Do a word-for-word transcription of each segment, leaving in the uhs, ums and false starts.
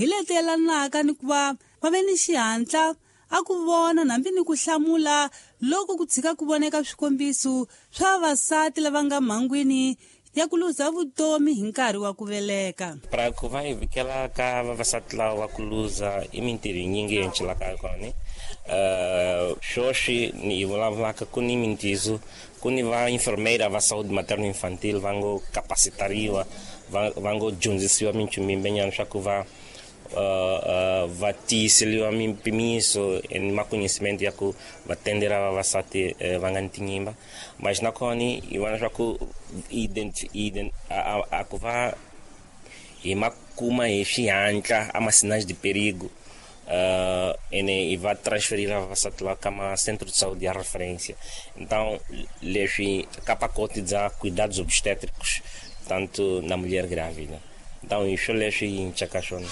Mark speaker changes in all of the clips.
Speaker 1: hi leti yelanaka ni ku va va ve ni xihatla a ku vona hambi ni ku hlamula loko ku tshika ku voneka swikombiso swa vavasati lava nga mhangwini ya ku luza vutomi hi nkarhi wa ku veleka.
Speaker 2: Para ku va hi vikela ka vavasati lava va ku luza i mintirho yinyingi yi encelaka kona. Uh, sweswi ni hi vulavulaka ku ni mintizo ku ni va enfermeira va saúde materno infantil va ngo capacitariwa va va ngo dyondzisiwa minchumu yimbenyana swa ku va uh, uh, va tiyiseliwa mimpimiso ni maconhecimento ya ku va tendela vavasati uh, va nga ni tinyimba. Mas nakona hi vona swa ku ident, ident, a, a, a ku va hi ma kuma hi xihatla a ma sinais de perigo uh, ene e va transferir vavasati la ka ma centro de saúde ya referência. Então leswi ka pacote bya cuidados obstétricos tanto na mulher grávida. Então isso leswi hi ncaka swona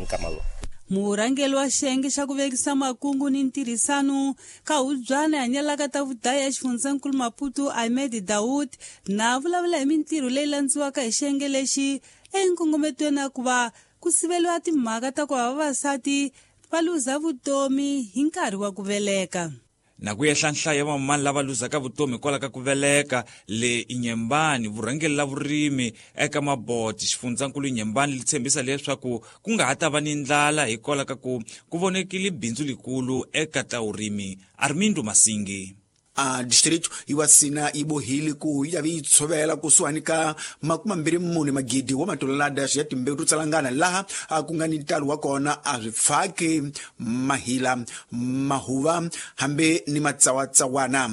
Speaker 2: nkama lowu.
Speaker 1: Murhangeri wa xiyenge xa ku vekisa makungu ni ntirhisano ka hubyana hanyelaka ta vudaya exifundzhankulu Maputo Ahmed Dawood na vulavula hi mintirho leyi landziwaka hi xiyenge lexi enkongometweni ya ku va ku siveliwa timhaka ta ku va vavasati va luza vutomi hi nkarhi wa ku veleka.
Speaker 3: Na ku yehla nhlayo ya vamamani lava luzaka vutomi hikwalaho ka ku veleka le Inyembani, vurhangeri la vurimi eka Maboti xifundzankulu Inyembani li tshembisa leswaku ku nga ha ta va ni ndlala hikwalaho ka ku ku vonekile bindzu likulu eka ta vurimi. Armindo Masingi.
Speaker 4: A distrito iwasina ibohile ku yi vi yi tshovela kusuhani ka makumambirhi mune magidi wa matolelada ya timbewu to tsalangana laha a ku nga ni ntalo wa kona a swi pfaki mahila mahuva hambi ni matsawatsawana.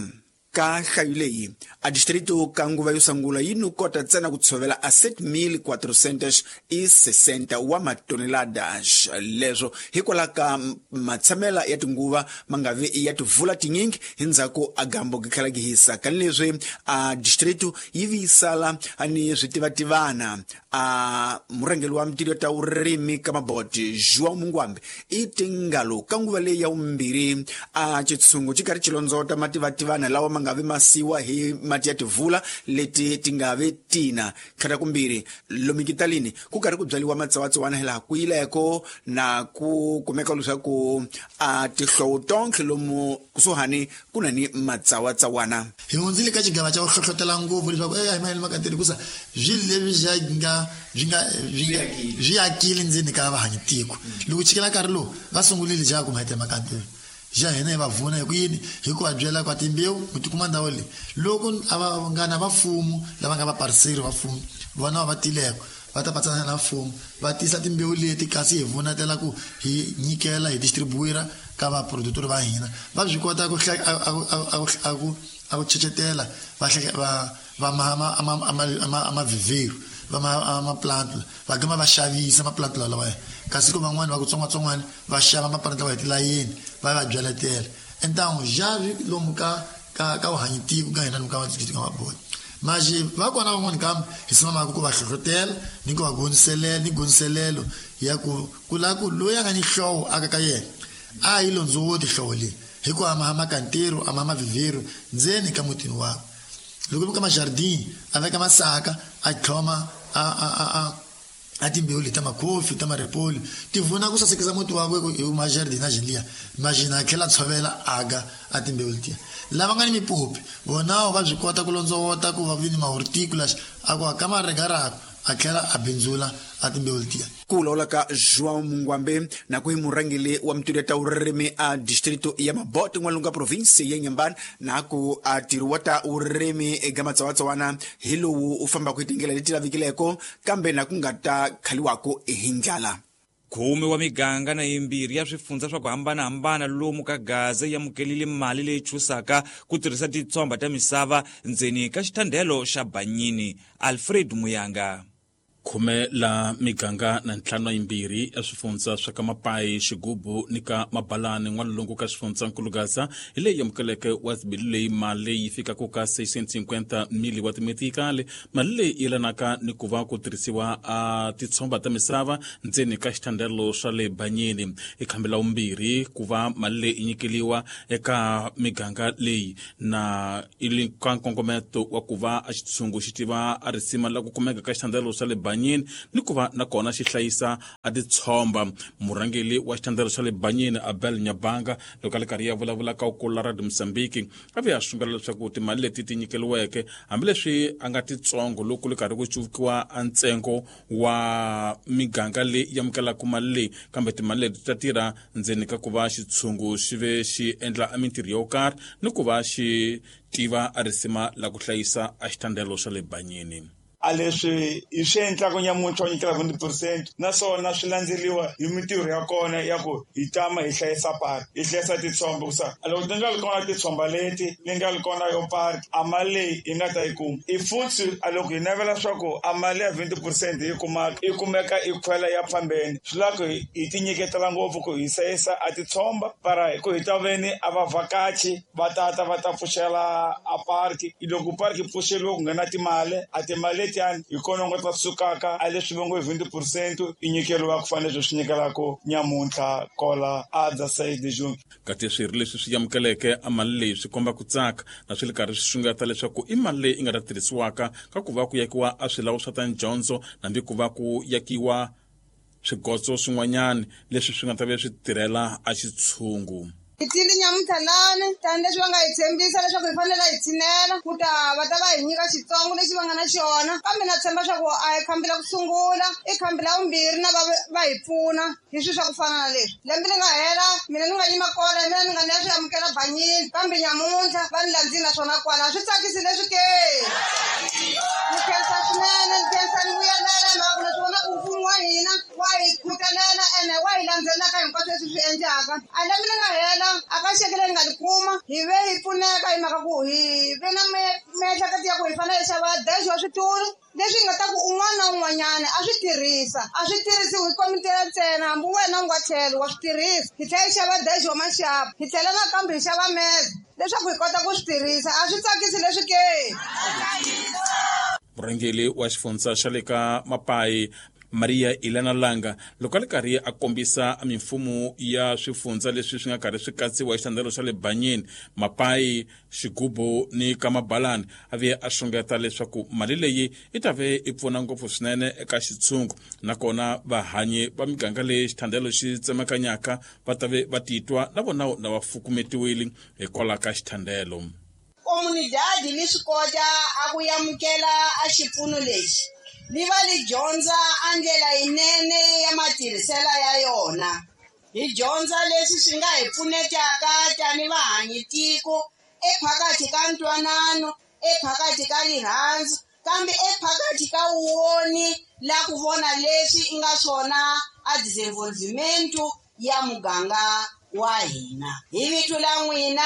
Speaker 4: Ka nhlayo leyi a distrito ka nguva yo sungula yi no kota ntsena ku tshovela a sete mil quatrocentos e sessenta wa matoneladas. Leswo hikwalaho ka matshamela ya tinguva ma nga vi ya tivula tinyingi hi ndzhaku a gambo ki tlhela ki hisa. Ka leswi a distrito yi vi yi sala ni switivativana. A murhangeri wa mintirho ta vurimi ka Maboti João Mungwambi i tingalo ka nguva leyi ya vumbirhi a xitshungu xi karhi xi londzota mativativana lawa ma nga vi masiwa hi mati ya tivula leti ti nga vi tina. Tlhela kumbirhi lomu kitalini ku karhi ku byariwa matsawatsawana hilaha ku yileko na ku kumeka leswaku a tihlovo tonkhe lomu kusuhani ku na ni matsawatsawana.
Speaker 5: Hi hundzile ka xigava xa ku hlohlotela ngopfu leswaku e a hi mahelo makateri hikusa swilo leswi swi nga swi nga swi akile ndzeni ka vahanyi tiko. Loko chikela nkarhi lowu va sungurile ja ku mahete makateri ja hina hi va vuna hi ku yini hi ku va byela kwa timbewu ku tikuma ndhawu leyi loko a va nga na vafumu lava nga vapariseri va mfumo vona va tileko va ta patsana na mfumo va tisa timbewu leti kasi hi vunatela ku hi nyikela hi distribuira ka vaproductor va hina va swi kota ku a ku a ku chechetela va va va ma ma ma vivero va ma ma plant va gama va xavisa ma plant lawa kasi ku van'wani va ku tsongwatsongwana va xava ma plant lawa hi tilayeni va va byaletela entangu javi lomu ka ka ka vuhanyitiko ka hina lomu ka ka Maboti maji va kona van'wani kambe hi simamaka ku va hlohlotela ni ku va goniselela ni goniselelo ya ku ku lava ku loyi a nga ni hlovo aka ka yena a yi londzowoti hlovo leyi hikuva a ma makantero a ma mavivero ndzeni ka mutini wakwe. Loko ka majardin a veka masaka a tlhoma a a a a a timbewu leti ta makhofi ta maripoli ti vuna ku sasekisa muti wakwe hi majardin a jiliya majina a tlhela tshovela aga a timbewu letiya. Lava nga ni mipopi vona va byi kota ku londzowota ku va vi ni mahorticulas a ku aka maregarako a tlhela a bindzula a timbewu letiya.
Speaker 4: Ku vulavula ka João Mungwambe na ku hi murhangeri wa mintirho ta vurimi a distrito ya Mabote n'walungu ka province ya Nyambani na ku a ntirho wa ta vurimi eka matsawatsawana hi lowu u fambaka hi tindlela leti lavikileko kambe na ku nga ta khaliwaka hi ndlala.
Speaker 3: Khume wa miganga na yimbirhi ya swifundza swa ku hambanahambana lomu ka Gaza yi amukelile mali leyi chusaka ku tirhisa titsomba ta misava ndzeni ka xithandelo xa Banyini. Alfred Muyanga.
Speaker 6: Khume la miganga na ntlhanu yimbirhi ya swifundza swa ka Mapayi, Xigubu ni ka Mabalani n'walungu ka xifundzankulu Gaza hi leyi amukeleke wa bilu leyi mali leyi fikaka ka seiscentos e cinquenta mili wa timetikali. Mali leyi yelanaka ni ku va ku tirhisiwa a titshomba ta misava ndzeni ka xithandelo swa le Banyini. I khambi la vumbirhi ku va mali leyi nyikeliwa eka miganga leyi na ili ka nkongometo wa ku va a xitshungu xi tiva a risima la ku kumeka ka xithandelo swa le Banyini. Banyini ni ku va nakona xi hlayisa a titshomba. Murhangeli wa xithandelo xa le Banyini Abel Nyabanga loko a le karhi ya vulavula ka ukula Radio Mozambique a ve a sungula leswaku timali leti ti nyikeliweke hambileswi a nga titsongo loko le karhi ku cuvukiwa a ntsengo wa miganga leyi amukelaka mali leyi, kambe timali leti ta tirha ndzeni ka ku va xitshungu xi ve xi endla a mintirho yo karhi ni ku va xi tiva a risima la ku hlayisa a xithandelo xa le Banyini.
Speaker 7: A leswi hi swi endlaka nyamuntlha wa nyikela twenty percent naswona swi landzeriwa hi mintirho ya kona ya ku hi tama hi hlayisa park, hi hlayisa titshomba ku sa loko ti nga ri kona titshomba leti ni nga ri kona yo park a mali leyi hi nga ta yi kuma i futhi a loko hi navela swa ku a mali ya twenty percent hi kumaka i kumeka i khwela ya fambeni swi lava ku hi ti nyiketela ngopfu ku hi hlayisa a titshomba para ku hi ta veni a vavhakachi va tata va ta pfuxela a park. Loko park yi pfuxeriwe ku nghena timali a timali letiyani hi kona nga ta sukaka a leswi va ngo twenty percent i nyikeriwa ku fanele swi nyikelaka nyamuntlha kola a dza side June.
Speaker 6: Kati swirho leswi swi amukeleke a mali leyi swi komba ku tsaka na swi le karhi swi xungeta leswaku i mali leyi i nga ta tirhisiwaka ka ku va ku yakiwa a swilawu swa ta dyondzo hambi ku va ku yakiwa swigotso swin'wanyana leswi swi nga ta ve swi tirhela a xitshungu.
Speaker 8: Hi tile nyamuntlha lani tanihileswi va nga hi tshembisa leswaku hi fanele hi tshinela ku ta va ta va hi nyika xitsongo lexi va nga na xona, kambe na tshemba swa ku a hi khambi la ku sungula i khambi la vumbirhi na va va hi pfuna hi swilo swa ku fana na leswi. Lembe li nga hela mina ni nga yima kona hi mina ni nga ni ya swi amukela Banyini, kambe nyamuntlha va ni landzile naswona kwala swi tsakisi leswi ke. Ni khensa swinene, ni khensa ni vuyelela hi mhaka ku na swi vona ku mfumo wa hina wa hi khutelela ene wa hi landzelaka hinkwaswo leswi swi endlaka. A lembe li nga hela a ka xeke leyi nga li kuma hi ve hi pfuneka hi mhaka ku hi ve na miehleketo ya ku hi fanele hi xava dash wa switulu leswi nga ta ku un'wana na un'wanyana a swi tirhisa, a swi tirhisiwi hi komiti ntsena, hambi wena u nga tlhelo wa swi tirhisa. Hi tlhela hi xava dash wa maxapu, hi tlhela nakambe hi xava meza leswaku hi kota ku swi tirhisa. A swi tsakisi leswi ke.
Speaker 6: Murhangeri wa xifundza xa le ka Mapai Maria Elena Langa loko a le karhi a kombisa mimfumo ya swifundza leswi swi nga karhi swi katsiwa hi xitandelo xa le Banyini, Mapai, Xigubu ni Kamabalani, a ve a xungeta leswaku mali leyi i ta ve i pfuna ngopfu swinene eka xitshungu nakona vahanyi va miganga leyi xithandelo xi tsemakanyaka va ta ve va titwa na vona na va fukumetiwile hikwalaho ka xithandelo.
Speaker 8: Comunidade li swi kota a ku amukela a xipfuno lexi li va li dyondza a ndlela yinene ya matirhiselo ya yona. Hi dyondza leswi swi nga hi pfunetaka tani vahanyi tiko ephakathi ka ntwanano, ephakathi ka rirhandzu, kambe ephakathi ka woni la ku vona leswi i nga swona a desenvolvimento ya muganga wa hina. Hi vito la n'wina,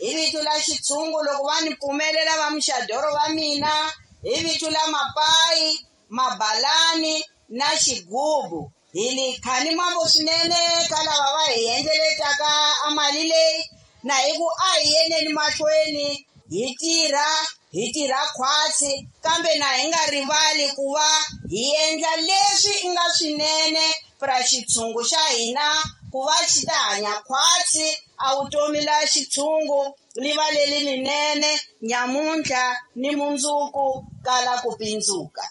Speaker 8: hi vito la xitshungu loko va ni pfumelela va muxadoro va mina, hi vito la Mapai, Mabalani na Xigubu, hi li khani mambo swinene ka lava va hi endleletaka a mali leyi, na hi ku a hi yeneni mahlweni hi tirha, hi tirha khwatsi, kambe na hi nga rivali ku va hi endla leswi i nga swinene pra xitshungu xa hina ku va xi ta hanya khwatsi a vutomi la xitshungu li va leli linene nyamuntlha ni mundzuku kala ku pindzuka.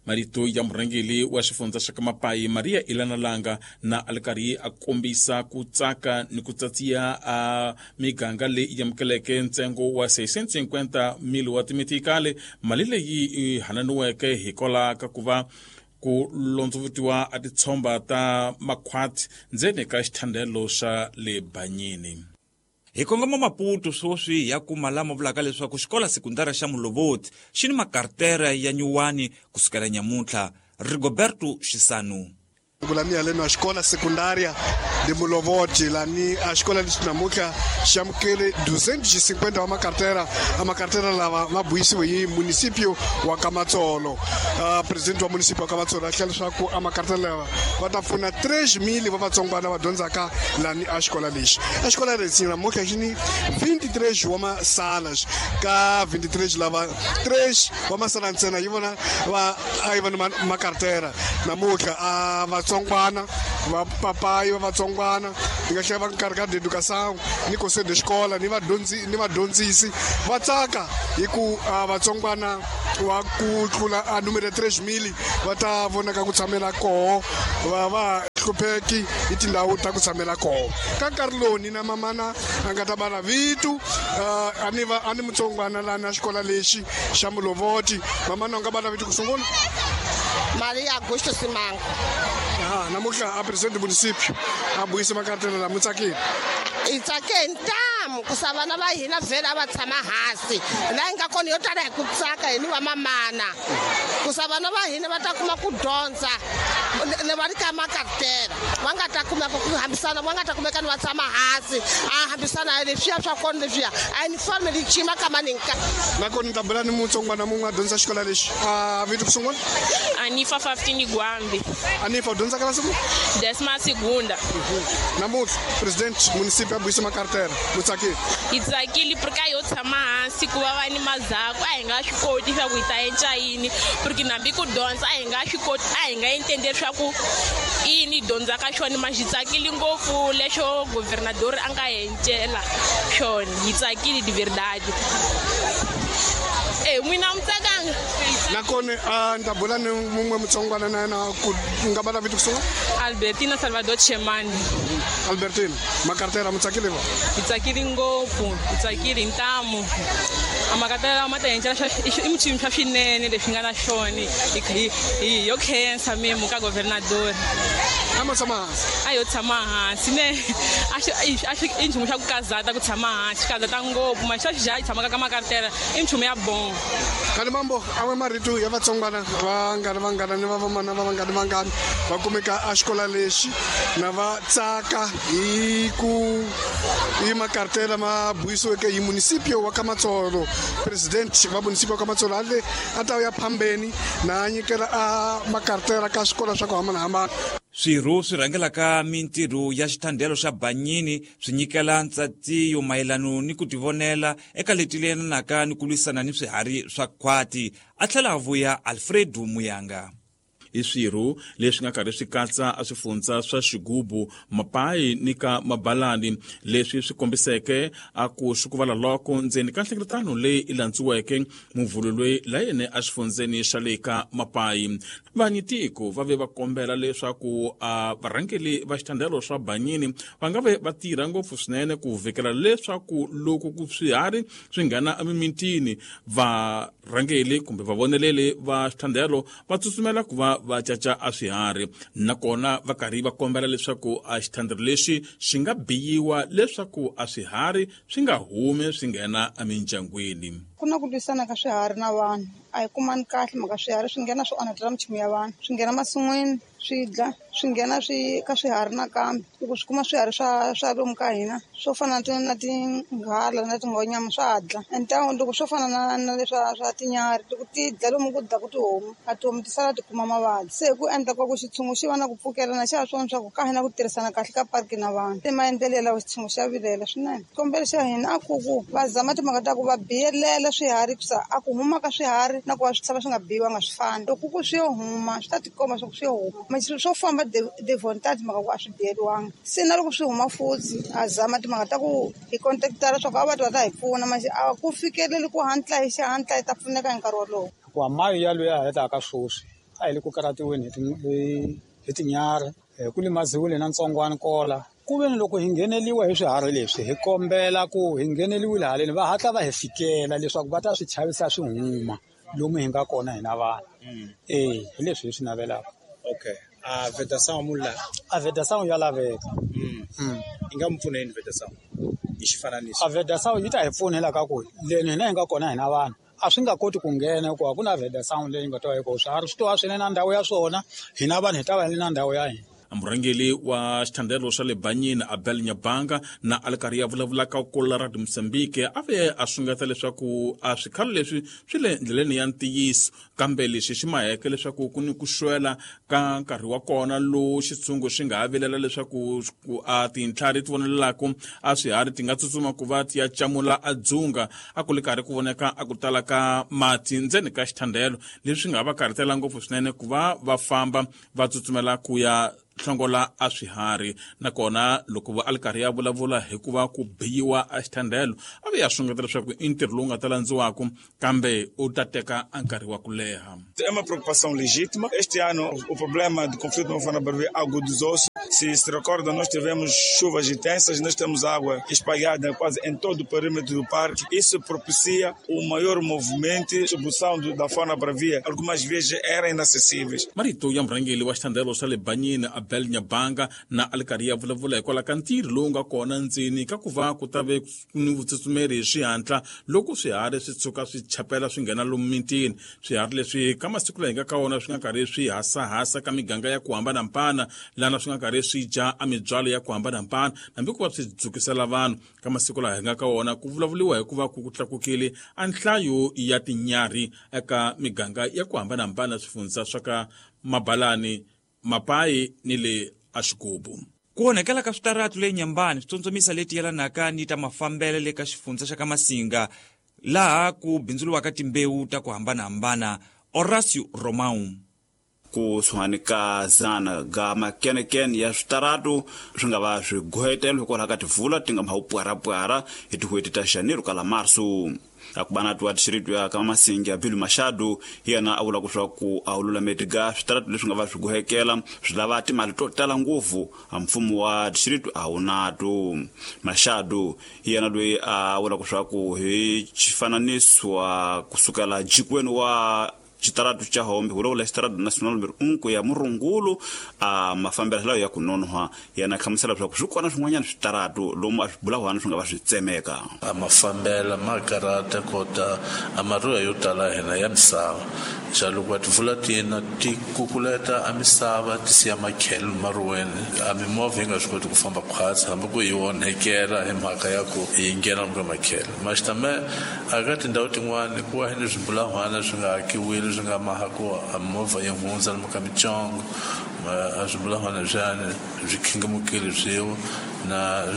Speaker 6: Marito ya murhangeri wa xifundza xa ka Mapai Maria Elena Langa na a le karhi a kombisa ku tsaka ni ku tsatsiya a miganga leyi amukeleke ntsengo wa seiscientos e cinquenta mil wa timitikale, mali leyi yi hananiweke hikwalaho ka ku va ku londzovutiwa a titshomba ta makhwati ndzeni ka xithandelo xa le Banyini.
Speaker 3: Hi kongoma Maputo sweswi ya kuma lama vulaka leswaku xikolo sekundara xa Mulovoti xi ni makartera ya nyuwani kusukela nyamuntlha. Rigoberto Xisanu.
Speaker 9: Kulamia leno a escola secundária de Mulovoti lá ni a escola de namuntlha xi amukele duzentos e cinquenta wa makartera a makartera lava ma buyisiwe hi município wa Kamatsolo. Uh, presidente wa município wa Kamatsolo a hlela leswaku a makartera lava va ta pfuna três mil va vatsongwana va dyondzaka lani a xikola lexi. A xikola lexi namuntlha xi ni vinte e três wa masalas ka vinte e três lava três wa masala ntsena yi vona va a yi va ni makartera namuntlha a vatsongwana va papai va vatsongwana hi nga tlhela va nkarhi ka educação ni conselho de escola ni vadyondzi ni vadyondzisi va tsaka hi ku vatsongwana wa ku tlula a numero tres mil va ta vonaka ku tshamela koho va va hlupheki hi tindhawu ta ku tshamela koho ka nkarhi lowu ni na mamana a nga ta bala vitu a ni va a ni mutsongwana lana xikola lexi xa Mulovoti. Mamana u nga bala vitu ku sungula?
Speaker 10: Maria Augusto Simango.
Speaker 9: Ah, namuntlha a presidente municipio a buyisa makartela lama tsakile.
Speaker 10: Hi tsake hi ntamu ku sa vana va hina vhele a va tshama hansi laha hi nga kona yo tala hi ku tsaka hi ni va mamana ku sa vana va hina va ta kuma ku dyondza le va ri ka makartela va nga ta kumeka ku hambisana va nga ta kumeka ni va tshama hansi a hambisana leswiya swa kona leswiya a uniform li cima ka maninka.
Speaker 9: Nakona ni ta bula ni mutsongwana mun'we a dyondzisa xikola lexi a vito ku sungula?
Speaker 11: Anifa Faftini Gwambi.
Speaker 9: Anifa u dyondza ka la
Speaker 11: Décima segunda.
Speaker 9: Namuntlha president municipio a buyisa makartela mu tsakile?
Speaker 11: Hi tsakile porque a yo tshama hansi ku va va ni mazako a hi nga swi koti swa ku hi ta endla yini porque nambi ku dyondza a hi nga swi koti a hi nga entende leswaku i yini hi dyondzaka xona ma xi tsakile ngopfu lexo governador a nga encela xona hi tsakile de verdade. Eh n'wina mi tsakanga?
Speaker 9: Nakona a ni ta bula ni mun'we mutsongwana na yena ku nga bala vito ku sungula?
Speaker 11: Albertina Salvador Chemani.
Speaker 9: Albertina, makartela mu tsakile va?
Speaker 11: Hi tsakile ngopfu, hi tsakile hi ntamu. A makartela ma ta encela i michumu swa swinene leswi nga na xona hi yo khensa memo ka governador.
Speaker 9: A ma tshama hansi?
Speaker 11: A yo tshama hansi ne a xi a xi i nchumu xa ku kazata ku tshama hansi kazata ngopfu ma xa xi tshamaka ka makartela i nchumu ya bon.
Speaker 9: Kani mambo awe marito ya vatsongwana vangani vangani ni va vamana va vangani vangani va kumeka a xikola lexi na va tsaka hi ku hi makartela ma buyisiweke hi municipio wa Kamatsolo. President va municipio wa Kamatsolo a le a ta ya phambeni na nyikela a makartela ka swikolo swa ku hambanahambana.
Speaker 3: Swirho swi rhangelaka mintirho ya xithandelo xa Banyini swi nyikela ntsatiyo mayelano ni ku tivonela eka leti leyanaka ni ku lwisana ni swiharhi swa khwati. A tlhela a vuya Alfredo Muyanga.
Speaker 6: I swirho leswi nga karhi swi katsa a swifundza swa Xigubu, Mapayi ni ka Mabalani leswi swi kombiseke a ku swikuvala loko ndzeni ka nhlengeletano leyi i landziweke muvhulu loyi la yene a xifundzeni xa le ka Mapayi. Vanyitiko va ve va kombela leswaku a varhangeli va xithandelo swa Banyini va nga ve va tirha ngopfu swinene ku vhikela leswaku loko ku swiharhi swi nghena emimitini varhangeli kumbe vavoneleli va xithandelo va tsutsumela ku va va caca a swiharhi nakona va karhi va kombela leswaku a xithandelo lexi xi nga biyiwa leswaku a swiharhi swi nga humi swi nghena emindyangwini.
Speaker 12: Ku na ku lwisana ka swiharhi na vanhu a hi kumani kahle mhaka swiharhi swi nghena swi onhetela minchumu ya vanhu swi nghena masin'wini swi dla swi nghena swi ka swiharhi nakambe loko swi kuma swiharhi swa swa lomu ka hina swo fana na na tinghala na tinghonyama swa dla entawu loko swo fana na na leswa swa tinyarhi loko ti dla lomu ku dlaku tihomu a tihomu ti sala ti kuma mavabyi se hi ku endla kwa ku xitshungu xi va na ku pfukelana xa ha swona swa ku ka hina ku tirhisana kahle ka parki na vanhu i maendlelo lawa xitshungu xa vilela swinene xikombelo xa hina a ku ku va zama timhaka ta ku va biyelela swiharhi kusa a ku huma ka swiharhi na ku va swi tshama swi nga biyiwanga swi fani loko ku swi yo huma swi ta tikomba swa ku swi yo huma ma swo famba de volontaire timhaka ku a swi biyeliwanga se na loko swi huma futhi a zama timhaka ta ku hi contactara swa ku a va ta hi pfuna ma a ku fikeleli ku hatla hi xihatla hi ta pfuneka hi nkarhi wolowo.
Speaker 13: Hikuva mayo ya loyi a hetaka sweswi a hi le ku karhatiweni hi hi tinyarhi ku limaziwile na ntsongwana kola ku ve ni loko hi ngheneliwa hi swiharhi leswi hi kombela ku hi ngheneliwile haleni va hatla va hi fikela leswaku va ta swi chavisa swi huma lomu hi nga kona hina vanhu eh hi leswi hi swi navelaka.
Speaker 14: Okay, a vedação mula
Speaker 13: a vedação ya laveka.
Speaker 14: Mm. Yi nga mi pfuna yini vedação hi xifananiso?
Speaker 13: A vedação yi ta hi pfunela ka ku leni hina hi nga kona hina vanhu a swi nga koti ku nghena hikuva ku na vedação leyi nga ta va yi kona swiharhi swi to va swi ri na ndhawu ya swona hina vanhu hi ta va hi ri na ndhawu ya hina.
Speaker 6: Murhangeli wa xithandelo xa le Banyini Abel Nyabanga na a li karhi ya vulavulaka kula ra Mozambique a ve a sungeta leswaku a swikhalo leswi swi le ndleleni ya ntiyiso kambe lexi xi maheke leswaku ku ni ku xwela ka nkarhi wa kona lowu xitshungu xi nga ha vilela leswaku a tintlhari ti vonelelaka a swiharhi ti nga tsutsuma ku va ti ya camula a dzunga a ku li karhi ku voneka a ku tala ka mati ndzeni ka xithandelo leswi nga va karhatela ngopfu swinene ku va va famba va tsutsumela ku ya hlongola a swiharhi. Nakona loko va a li karhi ya vulavula hi ku va ku biyiwa a xithandelo, a ve ya xungeta leswaku i ntirho lowu nga ta landziwaka kambe u ta teka a nkarhi wa ku leha.
Speaker 7: É uma preocupação legítima. Este ano o problema do conflito não foi na Barbeira agudizou-se. Se se recorda, nós tivemos chuvas intensas, nós temos água espalhada quase em todo o perímetro do parque. Isso propicia o maior movimento e distribuição da fauna bravia. Algumas vezes eram inacessíveis.
Speaker 6: Marito ya murhangeri wa xithandelo xa le Banyini Abel Nyabanga na a li karhi ya vulavula hikwalaho ka ntirho lowu nga kona ndzeni ka ku va ku ta ve ni vutsutsumeri hi swihatla loko swiharhi swi tshuka swi chapela swi nghena lomu mitini. Swiharhi leswi ka masiku laha hi nga ka wona swi nga karhi swi hasahasa ka miganga ya ku hambanahambana, lana swi nga karhi swi dya a mibyalo ya ku hambanahambana, hambi ku va swi dzukisela vanhu. Ka masiku laha hi nga ka wona ku vulavuriwa hi ku va ku tlakukile a nhlayo ya tinyarhi eka miganga ya ku hambanahambana swifundza swa ka Mabalani, Mapayi ni le Axigubu.
Speaker 3: Ku onhakela ka switaratu le Nyambani swi tsundzumisa leti yelanaka ni ta mafambelo le ka xifundza xa ka Masinga, laha ku bindzuriwaka timbewu ta ku hambanahambana. Horacio Romão.
Speaker 15: Kusuhani ka zana ga makenekene ya switaratu swi nga va swi gohetelo hikwalaho ka tivula ti nga ma pwarapwara hi tin'hweti ta Janeiro kala Marso. Akubana tuwa district ya ka Masinga Bilu Machado hi yena a vula leswaku a wu lulameti ga switaratu leswi nga va swi gohekela swi lava timali to tala ngopfu, a mfumo wa district a wu nato. Machado hi yena loyi a vula leswaku hi xifananisiwa kusukela jikweni wa xitaratu xa Hombe vulavula xitaratu national number un ku ya Murungulu a mafambelo lawa ya ku nonoha. Yena hlamusela leswaku swi kona swin'wanyana switaratu lomu a swi bulahwana swi nga va swi tsemeka.
Speaker 16: A mafambelo ma karata kota a maruya yo tala hina ya misava xa loko va tivula tina ti kukuleta a misava ti siya makhelo maruweni a mimovha yi nga swi koti ku famba khwatsi hambi ku yi onhekela hi mhaka ya ku yi nghena ka makhelo. Maxitame a ka tindhawu tin'wani ku wa hi ni swibulahwana swi nga hakiwile swi nga maha ku a movha yi hundza lomu ka mitsongo a swibulahwana swiyani swi khingamukile swiwa na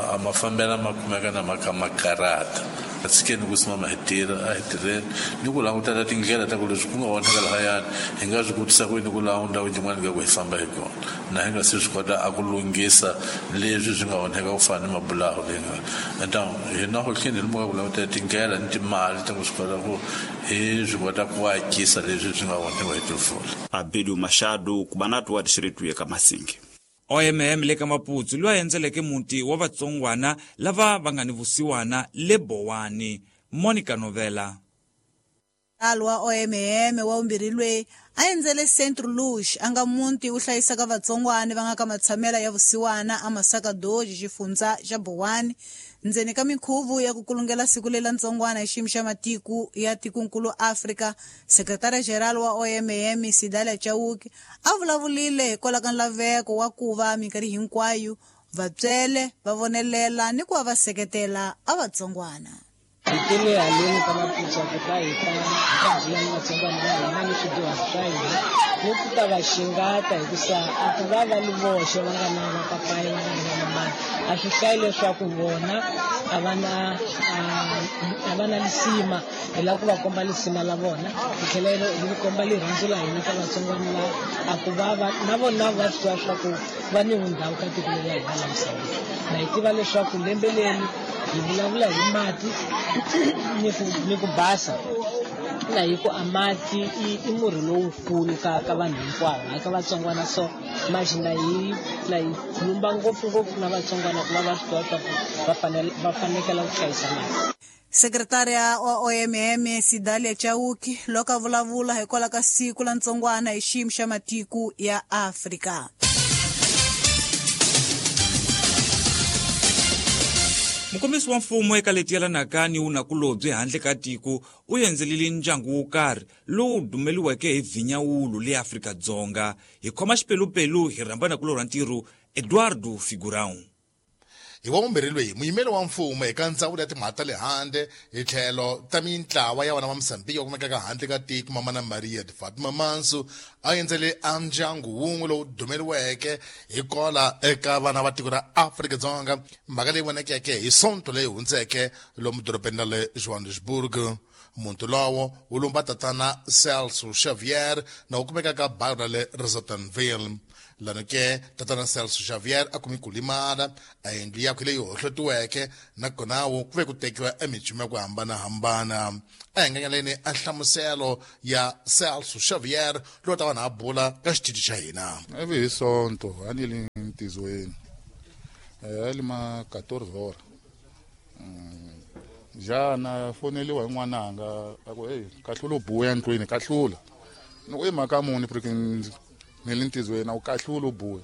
Speaker 16: a mafambelo ma kumeka na maka makarata. A tshikeni ku simama hi tirha a hi tirheni ni ku langutela tindlela ta ku leswi ku nga onhaka lahayani hi nga swi kotisa ku yini ku laha ndhawu yin'wana ka ku hi famba hi kona na hi nga se swi kota a ku lunghisa leswi swi nga onheka ku fana ni mabulahu leyi nga. Então hina ho tlhela hi ku langutela tindlela ni timali ta ku swi kota ku hi swi kota ku akisa leswi swi nga onhiwa hi timpfula.
Speaker 15: Abidu Machado kubanatu wa district ya ka Masinga.
Speaker 3: O M M le ka Maputsu loyi a endzeleke muti wa vatsongwana lava va nga ni vusiwana le Bowani. Monica Novela.
Speaker 1: Alwa O M M wa vumbirhi loyi a endzele Centro Luz a nga muti wu hlayisaka vatsongwana va nga ka matshamela ya vusiwana a Masaka Doji xifundza xa Bowani ndzeni ka minkhuvo ya ku kulungela siku lela ntsongwana hi xiyimo xa matiko ya tikonkulu Afrika. Sekretara General wa O M M Sidalia Chauke a vulavulile hikwalaho ka nlaveko wa ku va minkarhi hinkwayo vatswele va vonelela ni ku va va seketela a vatsongwana.
Speaker 17: Hi tele haleni ka Maputsu ku ta hi ta hi ta bula ni vatsongwana va hina ni swidyuhari swa hina ni ku ta va xingata hikusa a ku va va li voxe va nga na vapapayi va nga na vamamani a swi hlayi leswaku vona a va na a va na lisima hi lava ku va komba lisima la vona hi tlhela hi komba rirhandzu la hina ka vatsongwana lava a ku va va na vona va swi tiva leswaku va ni vundhawu ka tiko leri la hina la misaveni. Na hi tiva leswaku lembe leri hi vulavula hi mati ni ku ni ku basa na hi ku a mati i murhi lowukulu ka ka vanhu hinkwavo hayi ka vatsongwana so manje na hi na hi khulumba ngopfungopfu na vatsongwana ku va va swi tiva leswaku va fanele va fanekela ku hlayisa mati.
Speaker 1: Sekretária wa O M M Sidalia Chauke loko a vulavula hikwalaho ka siku la ntsongwana hi xiyimo xa matiko ya Afrika.
Speaker 3: Mukombisi wa mfumo eka leti yelanaka ni vunakulobye handle ka tiko u endzelile ndyangu wo karhi lowu dumeliweke hi vhinyawulu le Afrika-Dzonga. Hi khoma xipelupelu hi rhamba nakulorha ntirho Eduardo Figurão.
Speaker 18: Hi wa vumbirhi loyi muyimeri wa mfumo eka ndzawulo ya timhaka ta le handle hi tlhelo ta mintlawa ya vana va Mozambique va kumekaka handle ka tiko Mamana Maria de Fatima Manso a endzele a ndyangu wun'we lowu dumeriweke hi kola eka vana va tiko ra Afrika-Dzonga, mhaka leyi vonekeke hi sonto leyi hundzeke lomu dorobeni ra le Johannesburg. Muntu lowo wu lumba tatana Celso Xavier na wu kumekaka bayo ra le Rosettenville. Lano ke tatana Celso Xavier a kumi ku limala a yindlu yakwe leyi hohlotiweke nakona wo ku ve ku tekiwa emichumu ya ku hambanahambana. A hi nganyaleni a nhlamuselo ya Celso Xavier lowu ta vanhu a bula ka xitichi xa hina.
Speaker 19: Ivi hi Sonto a ni le ntizweni a li ma quatorze hora jana foneliwa hi n'wananga a ku hey kahlula u buya ndlwini kahlula ni ku i mhaka muni porque ni le ntizweni a wu kahlula u buya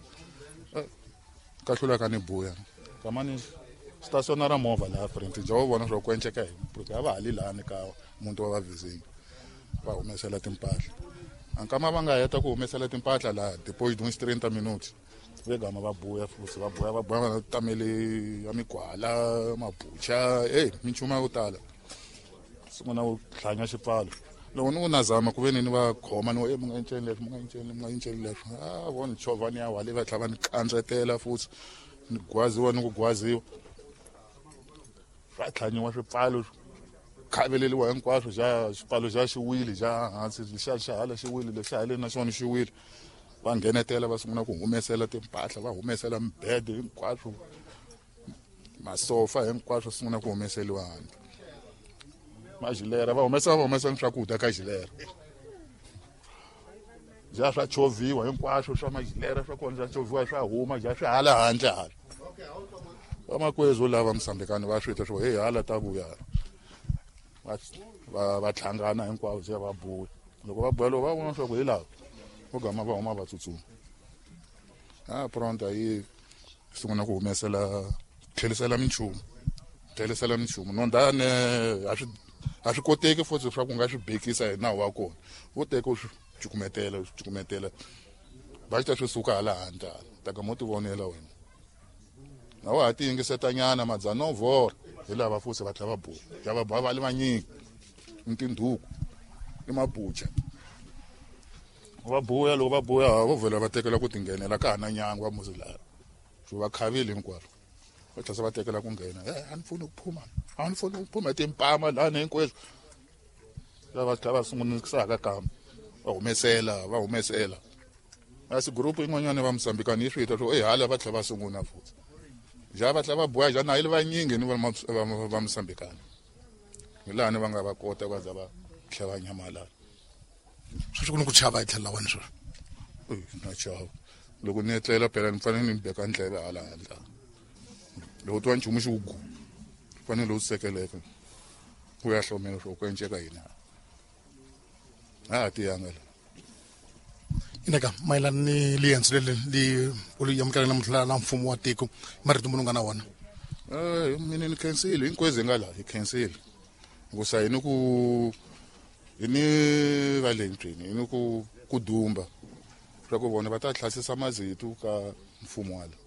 Speaker 19: kahlula ka ni buya kamani stationa ra movha laha front ja wu vona swa ku enceka hi porque a va hali lani ka muntu wa vavizini va humesela timpahla ankama va nga heta ku humesela timpahla laha depois de uns trinta minutos vegama va buya futhi va buya va buya va tamele ya migwala mabucha hey minchumu ya ku tala sungula ku hlanya xipfalo loko ni ku nazama ku ve ni ni va khoma ni e mi nga enceni leswi mi nga enceni mi nga enceni leswi a vo ni chovha ni ya wale va tlhela va ni kandzetela futhi ni gwaziwa ni ku gwaziwa swa tlhanyiwa swipfalo khaveleliwa hinkwaswo xa xipfalo xa xi wile xa hansi xa xa hala xi wile lexa haleni na xona xi wile va nghenetela va sungula ku humesela timpahla va humesela mibede hinkwaswo masofa hinkwaswo sungula ku humeseliwa handle majilera va humesa va humesa swakudya ka jilera ja swa chovhiwa hinkwaswo swa majilera swa kona swa chovhiwa swa huma ja swi hala handle hala vamakwezu lava Mosambikani va swi twa swo hey hala ta vuya va va va tlhangana hinkwavo se va buya loko va buya loko va vona swa ku hi lava vo gama va huma va tsutsuma a pronto yi sungula ku humesela tlhelisela minchumu tlhelisela minchumu nondane a swi a swi koteki futhi swa ku nga swi bekisa hi nawu wa kona vo teka u swi cukumetela u swi cukumetela va xita swi suka hala handle hala ta ka mo ti vonela wena na wa ha ti yingisetanyana madzana vhora hi lava futhi va tlhela va buya ya va buya va le vanyingi ni tindhuku ni mabucha va buya loko va buya vo vhela va tekela ku tinghenela ka ha na nyangwa muzi laha swi va khavile hinkwaswo va tlhela va tekela ku nghena e a ni pfuni ku phuma a ni pfuni ku phuma timpama lani hinkweswo lava tlhela va sungunisaka kambe va humesela va humesela asi group yin'wanyana va Mosambikani yi swi twa swo e hala va tlhela va sungula futhi ja va tlhela va buya ja na yi le vanyingi ni va va Mosambikani hi laha ni va nga va kota va za va tlhela va nyamalala.
Speaker 18: Sweswi ku ni ku chava hi tlhelo la wena sweswi?
Speaker 19: Na chava loko ni etlela phela ni fanele ni beka ndleve hala handle loko twa nchumu xi ku gu fanele u sekeleka u ya hlomela swo ku enceka yini a ha tiyanga la.
Speaker 18: Ineka mayelana ni liendzo leri li u li amukela namuntlha la mfumo wa tiko marito muni u nga na wona?
Speaker 19: Eh mina ni khensile hinkwezi hi nga laha hi khensile hikusa hi ni ku hi ni va le ndlwini hi ni ku ku dumba swa ku vona va ta hlasisa mazitu ka mfumo wa la.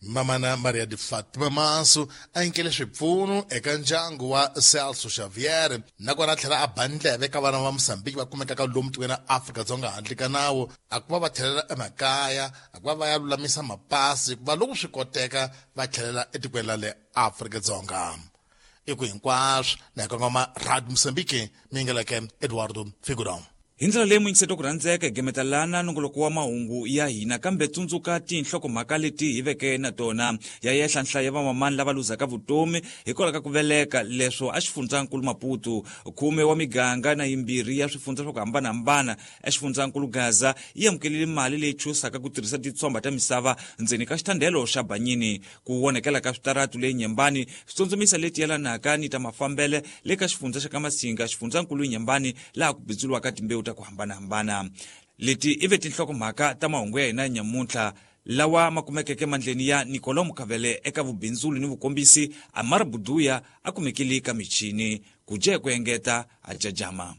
Speaker 18: Mamana Maria de Fatima Manso a nyikele swipfuno eka ndyangu wa Celso Xavier nakona a tlhela a ba ndleve ka vana va Mosambiki va kumekaka lomu tikweni ra Afrika-Dzonga handle ka nawu a ku va va tlhelela emakaya a ku va va ya lulamisa mapasi ku va loko swi koteka va tlhelela etikweni ra le Afrika-Dzonga. I ku hinkwaswo na hi kongoma Radio Mosambiki mi yingeleke Eduardo Figurão.
Speaker 3: Hi ndlela leyi muyingiseti ku rhandzeka hi gemetalana nongoloko wa mahungu ya hina kambe tsundzuka tinhlokomhaka leti hi veke na tona ya yehla nhlayo ya vamamani lava luzaka vutomi hikwalaho ka ku veleka leswo a xifundzankulu Maputo khume wa miganga na yimbirhi ya swifundza swa ku hambanahambana exifundzankulu Gaza yi amukelile mali leyi chusaka ku tirhisa titshomba ta misava ndzeni ka xithandelo xa Banyini ku vonekela ka switaratu leyi Nyembani switsundzumisa leti yelanaka ni ta mafambele le ka xifundza xa ka Masinga xifundzankulu Nyembani laha ku bindzuriwaka timbewu ta ku hambanahambana. Leti i ve tinhlokomhaka ta mahungu ya hina nyamuntlha lawa ma kumekeke mandleni ya Nicolau Mukavele eka vubindzuli ni vukombisi Amar Buduya a kumekile ka michini ku dya ku engeta a jajama.